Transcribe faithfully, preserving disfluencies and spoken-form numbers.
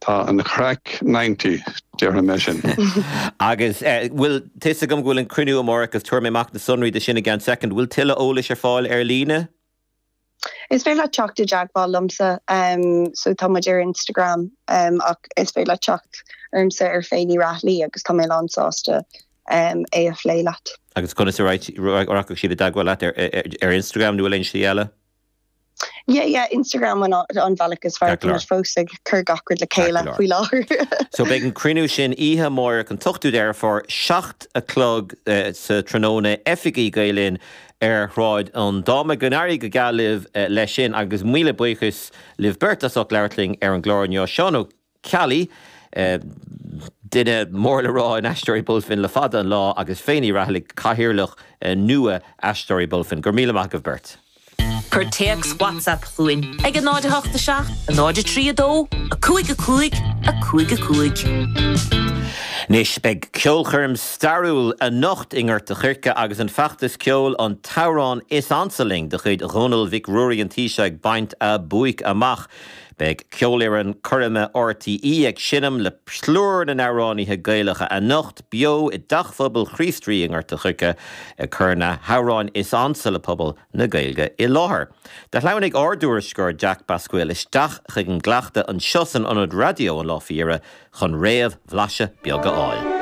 Tá an chraic ninety déarfaidh mé sin. Agus bhfuil tá a fhios agam go bhfuil an cruinniú amárach agus tabharfaidh mé amach na sonraí de sin i gceann soicind. Bhfuil tuilleadh eolais ar fáil ar líne? Is féidir leat teacht i dteagmháil liomsa um, so tá muid ar Instagram um, ach is féidir leat teacht ormsa ar Féiní Raghallaigh agus tá mé lán sásta um, é a phlé leat. Agus conas a rachaidh siad i dteagmháil leat ar, ar, ar Instagram nó aon slí eile? Yeah, yeah, Instagram an, an bhealach is fearr Ceart fós ag cur gach rud le chéile faoi láthair. So beidh an cruinniú sin oíche amárach an t-ochtú Deireadh Fómhair seacht a chlog uh, sa tráthnóna oifigí Gael Linn ar Shráid an Dáma. Go n-éirí go geal libh uh, leis sin agus míle buíochas libh beirt as ucht labhairt linn ar an gclár inniu. Seán Ó Ceallaigh, uh, duine mór le rá in Aisteoirí Bulfin le fada an lá agus Féiní Raghallaigh cathaoirleach uh, nua Aisteoirí Bulfin. Gur míle maith agaibh beirt. Cuir téacs WhatsApp chugainn ag a náid a hocht a seacht, a náid a trí a dó, a cúig a cúig, a cúig a cúig. Anois beidh ceolchoirm stairiúil anocht i nGort an Choirce agus an feachtas ceoil an t-amhrán is ansa linn de chuid Dhónaill Mhic Ruairí an Taoiseach ag baint a buaic amach. Beidh ceolfhoireann coirme R T E ag seinm le plúr na n-amhránaithe Gaelacha anocht beo i dTeach Phobail Chríost Rí i nGort an Choirce ag cur na hamhráin is ansa le pobal na Gaeilge i láthair. Do shleamhnaigh ár dtuairisceoir Jack Basquill isteach chuig an gcleachtadh anseo san ionad raidió an lá faoi dheireadh chun réamhbhlaiseadh beag a fháil.